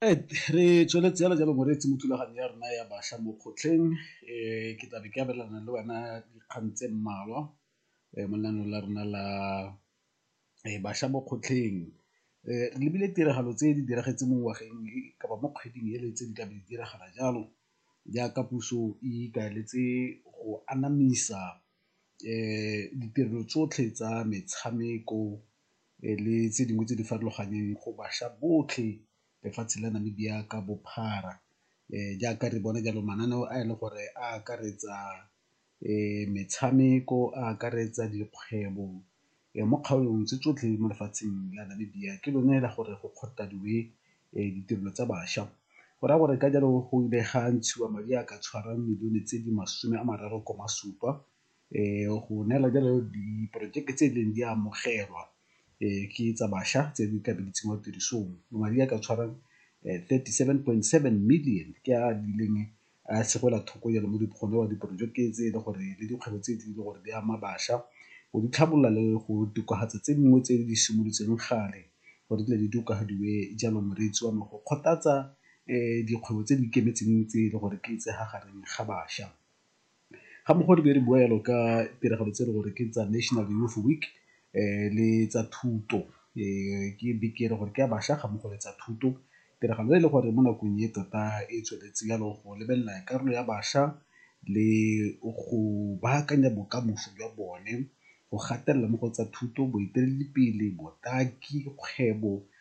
Re tsweletse fela jalo moreetsi mo thulaganyo ya rona ya bašwa mo kgotlheng ke tlabe ke abelana le wena dikgang tse mmalwa mo lenaaneng la rona la bašwa mo kgotlheng. Re lebile tiragalo tse di diragetseng mo ngwageng kapa mo kgweding ele tse di tlabe di diragala jalo jaaka puso e ikaeletse go anamisa ditirelo tsotlhe tsa metshameko le tse dingwe tse di farologaneng go bašwa botlhe lefatshe la Namibia ka bophara. Jaaka re bona jalo mananeo a e le gore a akaretsa metshameko, a akaretsa dikgwebo mo kgaolong tse tsotlhe mo lefatsheng la Namibia ke lone la gore go kgothadiwe ditirelo tsa bašwa. Go raya gore ka jalo go ile ga ntshiwa madi a ka tshwarang milione tse di 30,7 go neela jalo diporojeke tse e leng di amogelwa ke tsa bašwa tse di ka be di tsenngwa tirisong. Madi a ka tshwarang 37.7 million ke a ileng a segela thoko jalo mo go newa diporojeke tse e le gore le dikgwebo tse e le gore di ama bašwa go di tlhabolola le go tokafatsa tse dingwe tse di simolotseng gale gore di tokafadiwe jalo moreetsi wa me go kgothatsa dikgwebo tse di ikemetseng tse e le gore ke tsa gareng ga bašwa. Ga mmogo re be re bua jalo ka tiragalo tse e le gore ke tsa National Youth Week le tsa thuto ke beke e le gore ke ya bašwa ga mmogo le tsa thuto. Tiragalo e le gore mo nakong e tota e tsweletse jalo go lebelela karolo ya bašwa le go baakanya bokamoso jwa bone go gatelela mo go tsa thuto, boeteledipele, botaki, kgwebo.